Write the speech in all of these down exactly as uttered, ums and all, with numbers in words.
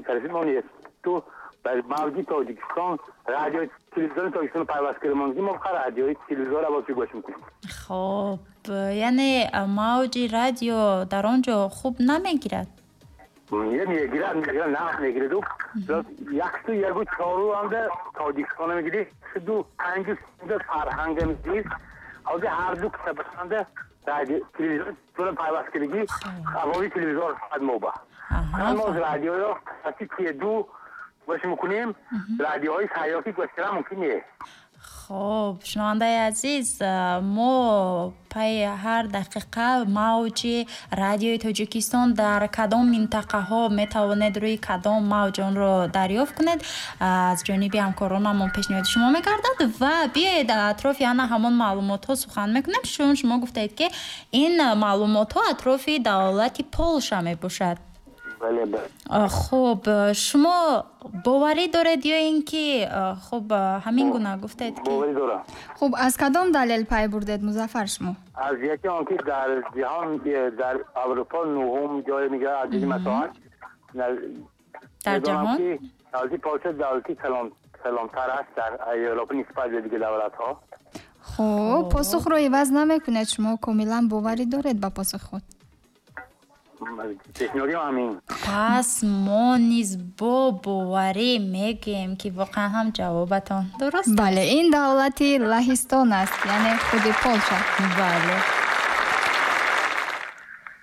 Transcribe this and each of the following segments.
тарафи мо нест. Ту бар мавҷи Тоҷикистон, радио телевизиони Тоҷикистон пайваст кардем, мо фақат радиои телевизионро боз гӯш мекунем. Хоб, яъне мавҷи радио дар он ҷо хуб намегирад? Мегирад, мегирад, нағз мегирад. Яксу ягу чору ҳамда Тоҷикистона мегирид, ду панҷу Фарҳанга мегирид. Ҳозир ҳар ду кисабасанда радио телевизион пайваст кардагӣ, авози телевизор фақат мо ба. Мо радиоро ду гӯш мекунем, радиоҳои сайёҳӣ гӯш кардан мумкин нест. Хоб, шунавандаи азиз, мо пайи ҳар дақиқа мавҷи радиои Тоҷикистон дар кадом минтақаҳо метавонед рӯи кадом мавҷ онро дарёфт кунед, аз ҷониби ҳамкоронамон пешниҳоди шумо мегардад. Ва биёед атрофи ана ҳамон маълумотҳо сухан мекунем, чун шумо гуфтаед, ки ин маълумотҳо атрофи давлати Полша мебошад. Хуб, шумо боварӣ доред ё ин ки хуб ҳамин гуна гуфтед ки? Боварӣ дорам. Хуб, аз кадом далел пай бурдед, Музаффар, шумо? Аз яке он ки дар ҷаҳон, дар Аврупо нуҳум ҷой мегирад аз ҷиҳати масоҳат. Дар ҷаҳон? Давлати Полша давлати калонтар аст дар Европа нисбат ба дигар давлатҳо. Хуб, посухро иваз намекунед, шумо комилан боварӣ доред ба посухи худ? Пас мо низ бо боварӣ мегӯем, ки воқеан ҳам ҷавобатон дуруст. Бале, ин давлати Лаҳистон аст, яъне худи Полша. Бале.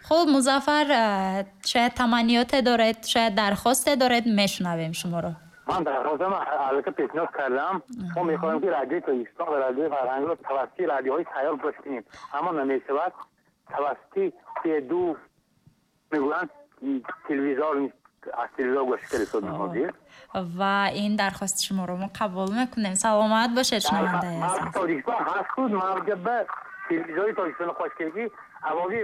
Хуб, Музаффар, шояд таманниёте доред, шояд дархосте доред, мешунавем шуморо. Ман дархостам аллакай пешниҳод кардам. Мо мехоҳем, ки радиои Тоҷикистон ва радиои Фарҳангро тавассути радиоҳои сайёр гӯш кунем, аммо намешавад. Тавассути ду мегӯянд телевизор, аз телевизор гӯш кардем ҳозир. Ва ин дархости шуморо мо қабул мекунем. Саломат бошед, шунавандаи азиз. Тоҷикистон ҳаст худ мавҷа ба телевизори Тоҷикистон хош кардагӣ, авози.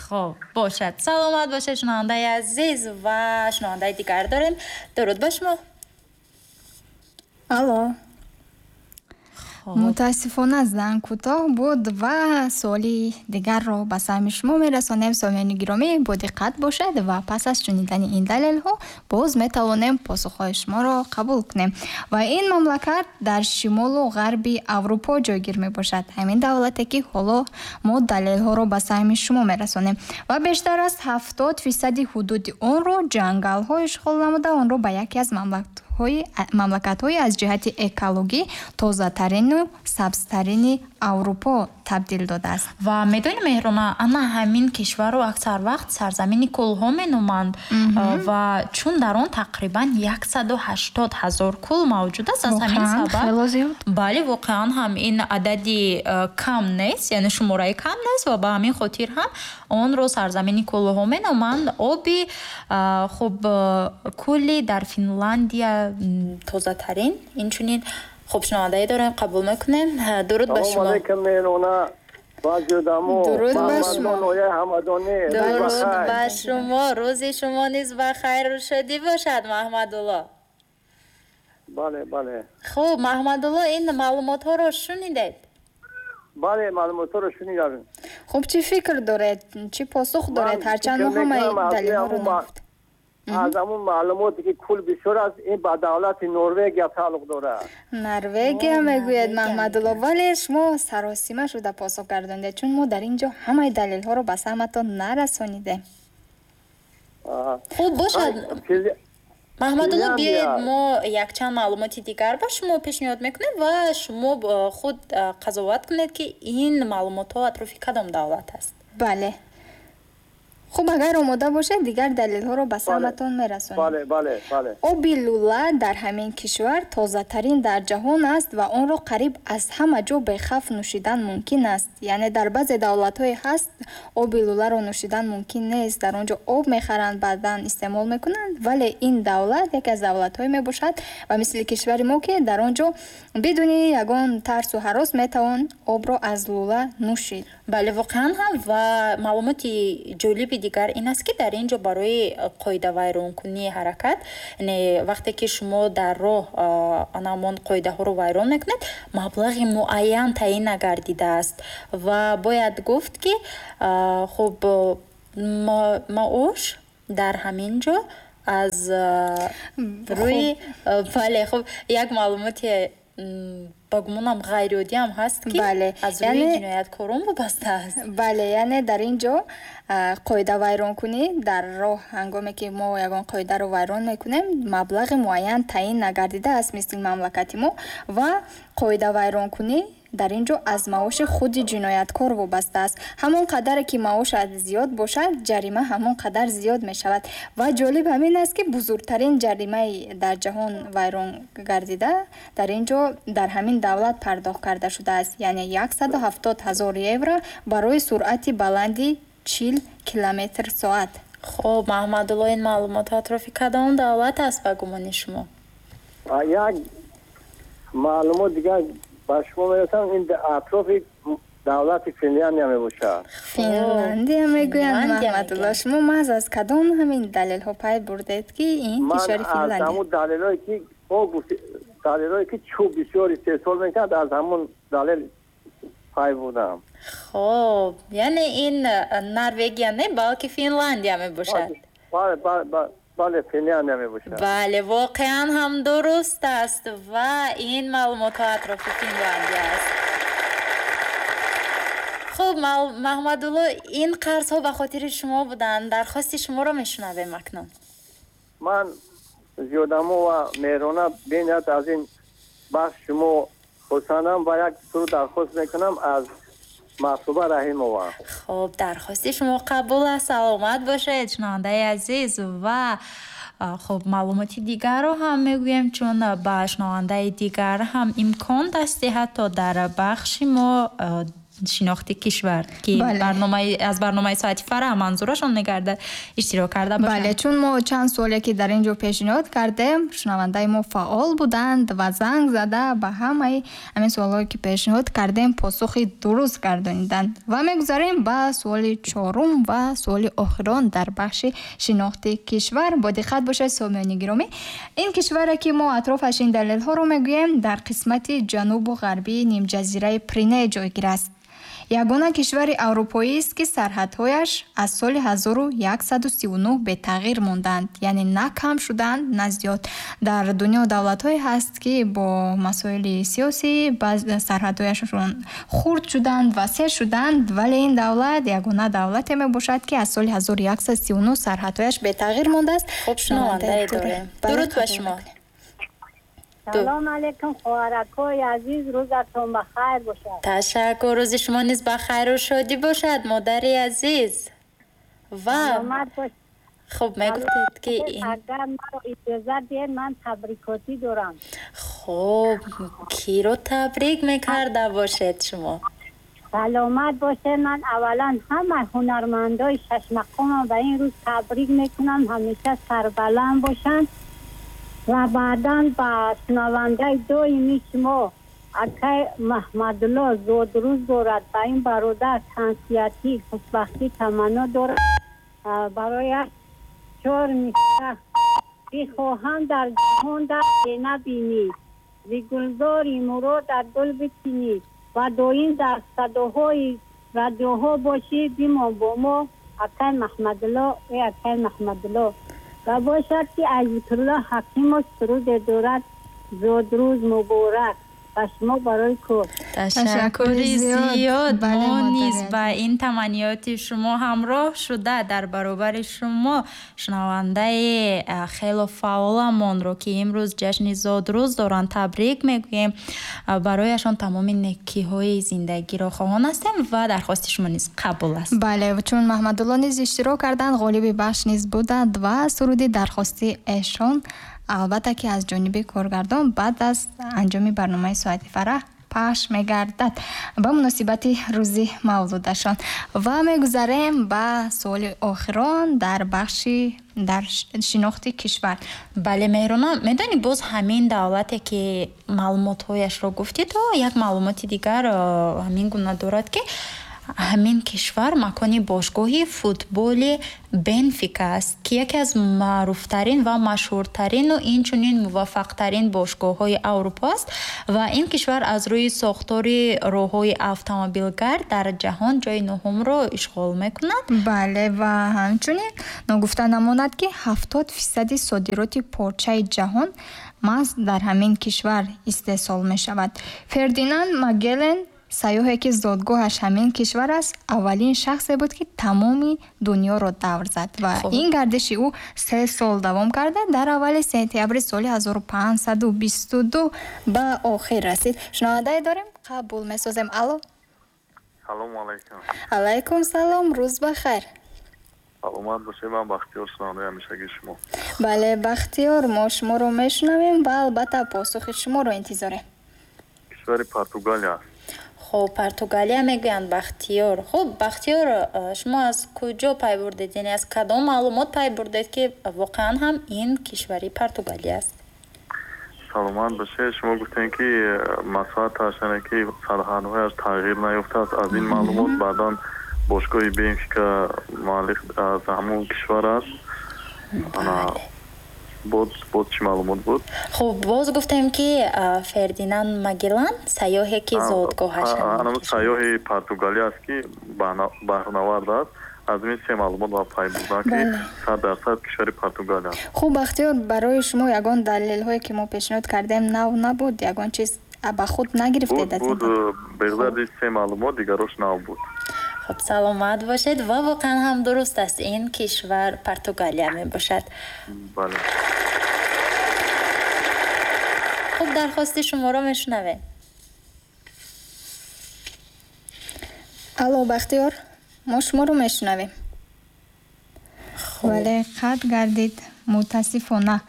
Хоб, бошад, саломат бошед, шунавандаи азиз. Ва шунавандаи дигар дорем. Дуруд ба шумо. Алло. Мутаассифона, занг кӯтоҳ буд ва суоли дигарро ба самъи шумо мерасонем. Сомиёни гиромӣ, бодиққат бошед ва пас аз шунидани ин далелҳо боз метавонем посухҳои шуморо қабул кунем. Ва ин мамлакат дар шимолу ғарби Аврупо ҷойгир мебошад, ҳамин давлате, ки ҳоло мо далелҳоро ба самъи шумо мерасонем, ва бештар аз ҳафтод фисади ҳудуди онро ҷангалҳо ишғол намуда, онро ба яке аз мамлакатҳои аз ҷиҳати экологӣ тозатарину сабзтарини Аврупо табдил додааст. Ва медонӣ, Меҳрона, ана ҳамин кишварро аксар вақт сарзамини кӯлҳо меноманд, ва чун дар он тақрибан яксаду ҳаштод ҳазор кӯл мавҷуд аст, аз ҳамин сабаб. Хело зиёд. Бале, воқеан ҳам ин адади кам нест, яъне шумораи кам нест, ва ба ҳамин хотир ҳам онро сарзамини кӯлҳо меноманд. Оби хуб кӯли дар Финландия тозатарин инчунин. Хуб, шунавандае дорем, қабул мекунем. Дуруд ба шумо. Алейкум, Меҳрона. Дуруд ба шумо. Дуруд ба шумо, рӯзи шумо низ ба хайру шодӣ бошад, Маҳмадулло. Бале, бале. Хуб, Маҳмадулло, ин маълумотҳоро шунидед? Бале, маълумотҳоро шунидам. Хуб, чӣ фикр доред, чӣ посух доред, ҳарчанд мо ҳамаи далелҳоро нагуфтем? Аз ҳамун маълумоте, ки кӯл бисёр аст, ин ба давлати Норвегия тааллуқ дорад. Норвегия мегӯяд Маҳмадулло, вале шумо саросима шуда посух гардондед, чун мо дар ин ҷо ҳамаи далелҳоро ба самъатон нарасонидем. Хуб бошад, Маҳмадулло, биёед мо якчанд маълумоти дигар ба шумо пешниҳод мекунем ва шумо худ қазоват кунед, ки ин маълумотҳо атрофи кадом давлат аст. Бале. Хуб, агар омода бошед, дигар далелҳоро ба самъатон мерасонем. Бале, бале, бале. Оби лӯла дар ҳамин кишвар тозатарин дар ҷаҳон аст ва онро қариб аз ҳама ҷо бехавф нӯшидан мумкин аст. Яъне дар баъзе давлатҳое ҳаст, оби лӯларо нӯшидан мумкин нест, дар он ҷо об мехаранд, баъдан истеъмол мекунанд, вале ин давлат яке аз давлатҳое мебошад ва мисли кишвари мо, ки дар он ҷо бидуни ягон тарсу ҳарос метавон обро аз лӯла нӯшид. Бале, воқеан ҳам. Ва маълумоти ҷолиби дигар ин аст, ки дар ин ҷо барои қоидавайронкунии ҳаракат, яъне вақте ки шумо дар роҳ анамон қоидаҳоро вайрон мекунед, маблағи муайян таъин нагардидааст. Ва бояд гуфт, ки хуб, маош дар ҳамин ҷо Аз рӯи бале, хуб, як маълумоти ба гумонам ғайриоддӣ ҳам ҳаст, ки аз рӯи ҷинояткорон вобаста аст. Бале, яъне дар ин ҷо қоидавайронкунӣ дар роҳ, ҳангоме ки мо ягон қоидаро вайрон мекунем, маблағи муайян таъин нагардидааст мисли мамлакати мо, ва қоидавайронкунӣ дар ин ҷо аз маоши худи ҷинояткор вобаста аст. Ҳамон қадаре ки маошат зиёд бошад, ҷарима ҳамон қадар зиёд мешавад. Ва ҷолиб ҳамин аст, ки бузургтарин ҷаримаи дар ҷаҳон вайрон гардида дар ин ҷо дар ҳамин давлат пардохт карда шудааст, яъне яксаду ҳафтод ҳазор евро барои суръати баланди чил километр соат. Хуб, Маҳмадулло, ин маълумотҳо атрофи кадом давлат аст ба гумони шумо? Як маълумот дигар ба шумо мерасам, ин атрофи давлати Финляндия мебошад. Финляндия мегӯянд, Маҳмадулло. Шумо маҳз аз кадом ҳамин далелҳо пай бурдед, ки ин кишвари Финляндия? Ман аз ҳамун далелҳое ки далелҳое ки чӯб бисёр истеҳсол мекунад, аз ҳамун далел пай бурдам. Хуб, яъне ин Норвегия не, балки Финляндия мебошад. Бале, бале, бале, Финляндия мебошад. Бале, воқеан ҳам дуруст аст ва ин маълумотҳо атрофи Финляндия аст. Хуб, Маҳмадулло, ин қарзҳо ба хотири шумо буданд. Дархости шуморо мешунавем акнун. Ман зиёдамо ва меҳрона бениҳоят аз ин бахш шумо хурсандам ва як суруд дархост мекунам аз Маҳсуба Раҳимова. Хуб, дархости шумо қабул аст. Саломат бошед, шунавандаи азиз. Ва хуб, маълумоти дигарро ҳам мегӯем, чун ба шунавандаи дигар ҳам имкон даст диҳад то дар бахши мо шинохти кишвар, ки аз барномаи соати фараҳ манзурашон мегардад, иштирок карда бошанд. Бале, чун мо чанд суоле ки дар ин ҷо пешниҳод кардем, шунавандаи мо фаъол буданд ва занг зада ба ҳамаи ҳамин суолҳое ки пешниҳод кардем посухи дуруст гардониданд. Ва мегузарем ба суоли чорум ва суоли охирон дар бахши шинохти кишвар. Бо диққат бошед, сомиёни гиромӣ. Ин кишваре ки мо атрофаш ин далелҳоро мегӯем, дар қисмати ҷанубу ғарбии нимҷазираи Прине ҷойгир аст. Ягона кишвари аврупоист, ки сарҳадҳояш аз соли ҳазору яксаду сию нӯҳ бетағйир монданд, яъне на кам шуданд, на зиёд. Дар дунё давлатҳое ҳаст, ки бо масоили сиёсӣ сарҳадҳояшон хурд шуданд, васеъ шуданд, вале ин давлат ягона давлате мебошад, ки аз соли ҳазору яксаду сию нӯҳ сарҳадҳояш бетағйир мондааст. Хуб, шунавандае дорем. Дуруд ба шумо. Салом алейкум, хоҳаракҳои азиз, рӯзатон ба хайр бошад. Ташаккур, рӯзи шумо низ ба хайру шодӣ бошад, модари азиз. Ва хуб, мегуфтед ки агар маро иҷоза диҳед, ман табрикотӣ дорам. Хуб, киро табрик мекарда бошед шумо? Саломат бошед. Ман аввалан ҳама ҳунармандои шашмақомам ба ин рӯз табрик мекунам, ҳамеша сарбаланд бошанд. Ва баъдан ба шунавандаи доимии шумо акай Маҳмадулло зодрӯз дорад, ба ин бародар тансиҳатӣ, хушбахтӣ таманно дорад. Барояш чор мисра: бихоҳам дар ҷаҳон дарде набинӣ, зи гулзори муродат гул бичинӣ ва доим дар садоҳои радиоҳо бошӣ, бимон бо мо акай Маҳмадулло, э акай Маҳмадулло. Ва бошад ки Азизулло Ҳакимов суруде дорад, зодрӯз муборак ба шумо барои кор. Ташаккури зиёд. Мо низ ба ин таманниёти шумо ҳамроҳ шуда дар баробари шумо шунавандаи хело фаъоламонро, ки имрӯз ҷашни зодрӯз доранд, табрик мегӯем. Барояшон тамоми некиҳои зиндагиро хоҳон ҳастем ва дархости шумо низ қабул аст. Бале, чун Маҳмадулло низ иштирок карданд, ғолиби бахш низ буданд ва суруди дархости эшон албатта ки аз ҷониби коргардон баъд аз анҷоми барномаи соати фараҳ пахш мегардад ба муносибати рӯзи мавлудашон. Ва мегузарем ба суоли охирон дар бахши дар шинохти кишвар. Бале, Меҳрона, медонӣ боз ҳамин давлате ки маълумотҳояшро гуфтӣ, то як маълумоти дигар ҳамин гуна дорад, ки Ҳамин кишвар макони бошгоҳи футболи Бенфика аст, ки яке аз маъруфтарин ва машҳуртарину инчунин муваффақтарин бошгоҳҳои Аврупо аст ва ин кишвар аз рӯи сохтори роҳҳои автомобилгард дар ҷаҳон ҷойи нуҳумро ишғол мекунад. Бале, ва ҳамчунин ногуфта намонад, ки ҳафтод фисади содироти порчаи ҷаҳон маҳз дар ҳамин кишвар истеҳсол мешавад. Фердинанд Магеллен, сайёҳе ки зодгоҳаш ҳамин кишвар аст, аввалин шахсе буд, ки тамоми дунёро давр зад ва ин гардиши ӯ се сол давом карда, дар аввали сентябри соли ҳазору панҷсаду бисту ду ба охир расид. Шунавандае дорем, қабул месозем. Алло. Салому алайкум. Алайкум салом, рӯз ба хайр. Саломат бошед, ман Бахтиёр, шунавандаи ҳамешагии шумо. Бале, Бахтиёр, мо шуморо мешунавем ва албатта посухи шуморо интизорем. Кишвари Португалия аст. Хуб, Португалия мегӯянд, Бахтиёр. Хуб, Бахтиёр, шумо аз куҷо пай бурдед, яъне аз кадом маълумот пай бурдед, ки воқеан ҳам ин кишвари Португалия аст? Саломат бошед. Шумо гуфтем, ки масоҳаташ, яъне ки сарҳадҳояш тағйир наёфтааст. Аз ин маълумот баъдан бошгоҳи Бенфика муаллиф аз ҳамон кишвар аст. Боз боз чӣ маълумот буд? Хуб, боз гуфтем, ки Фердинанд Магеллан, сайёҳе ки зодгоҳаш ҳамон сайёҳи Португалия аст, ки баҳрнавард аст. Аз ин се маълумот ва пай бурдам, ки сад дарсад кишвари Португалия. Хуб, Бахтиёр, барои шумо ягон далелҳое ки мо пешниҳод кардем нав набуд? Ягон чиз ба худ нагирифтед аз ин? Буд, беғараз се маълумот дигарош нав буд. Хуб, саломат бошед ва воқеан ҳам дуруст аст, ин кишвар Португалия мебошад. Бале. Хуб, дархости шуморо мешунавем. Алло, Бахтиёр, мо шуморо мешунавем. Вале қатъ гардид, мутаассифона.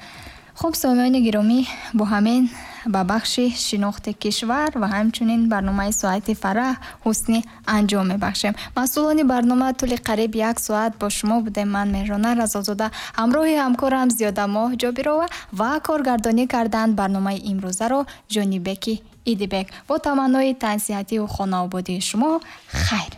Хуб, сомиёни гиромӣ, бо ҳамин ба бахши шинохти кишвар ва ҳамчунин барномаи соати фараҳ ҳусни анҷом мебахшем. Масъулони барнома тӯли қариб як соат бо шумо будем. Ман Меҳрона Разозода, ҳамроҳи ҳамкорам Зиёдамоҳ Ҷобирова ва коргардонӣ карданд барномаи имрӯзаро Ҷонибеки Идибек. Бо таманнои тансиҳативу хонаободии шумо хайр.